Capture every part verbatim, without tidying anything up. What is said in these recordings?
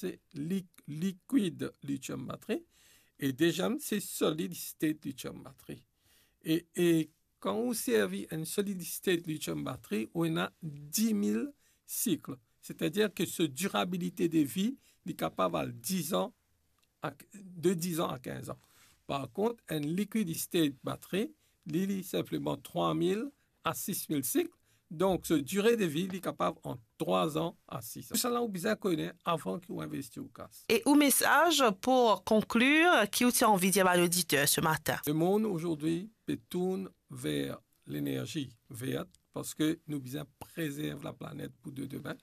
se li-, liquid lithium battery, e deziem, se solid state lithium battery. E, e kan ou servi enn solid state lithium battery, ou ena dis mil sik. Setadir ke so dirabilite de vi, li kapav al diz an, a, de diz an a kinz an. Par kont, enn liquid state battery, li, li sinpleman trwa mil a sis mil sik. Donk, so dire de vi, li kapav ant trwa an a sis an. Tousala, ou bizin kone avan ki ou investi ou kas. E ou mesaz pou konklir, ki ou ti anvi dir bann oditer se matin? Lemonn azordi pe tourn ver lenerzi vert, parski nou bizin prezerv laplanet pou de demin.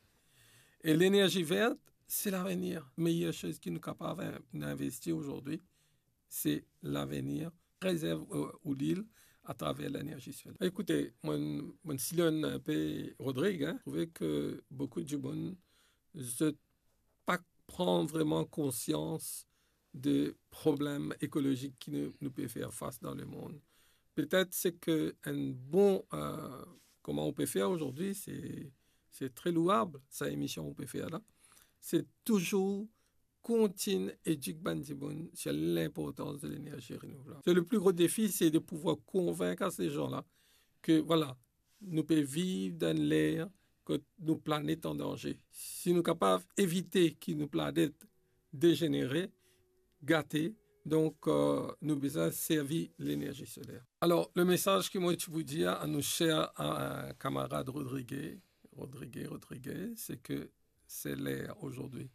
E lenerzi vert, se lavenir. Meyer soz ki nou kapav in-, investi azordi, se lavenir. Prezerv, euh, ou lil atraver lenerzi soler. Ekoute, mo, mo sillonn inpe Rodrig, hein. Trouve ke boukou dimoun, zot pa pran vreman konsians de problem ekolozik ki nou, nou pe fer fas dan lemond. Petet se ke enn bon, euh, kouma ou pe fer azordi, se, se tre louab, sa emision ou pe fer la. Se touzour kontign edik bann dimoun sir linportans de lenerzi renouvlab. Se le pli gro defi, se de pouvwar konvink a se zan la ke, vwala, nou pe viv dan enn ler kot nou planet an danze. Si nou kapav evite ki nou planet dezenere, gate, donk, euh, nou bizin servi lenerzi soler. Alor, le mesaz ki mo ti pou dir a nou ser, euh, kamarad Rodrigue, Rodrigue, Rodrigue, se ke se ler azordi.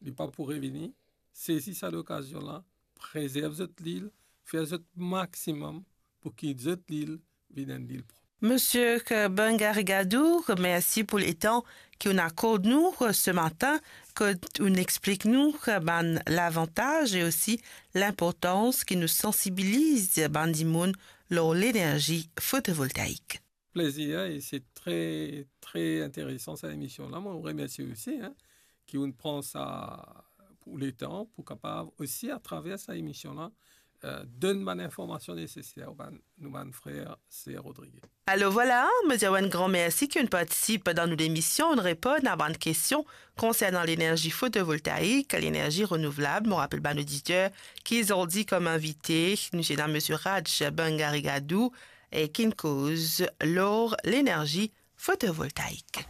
Li pa pou revini. Sezi sa lokazion la, prezerv zot lil, fer zot maximum pou ki zot lil vinn enn lil prop. Monsieur Bangarigadou, mersi pou letan ki ou'nn akord nou se matin, kot ou'nn explik nou bann lavantaz e osi linportans ki nou sansibiliz bann dimoun lor lenerzi fotovoltaik. Plezir, e se tre, tre interesan sa emision la. Mo remersi osi, hein, ki ou'nn pran sa pou letan, pou kapav osi atraver sa emision la, euh, donn bann informasion neseser bann, nou bann frer ser Rodrigue. Alor vwala, mo dir enn gran mersi ki ou'nn partisip dan nou lemision, ou'nn reponn a bann kestion konsernan lenerzi fotovoltaik, lenerzi renouvlab. Mo rapel bann oditer ki zordi kom invite, nou ti ena Monsieur Raj Bangarigadou, e ki'nn koz lor lenerzi fotovoltaik.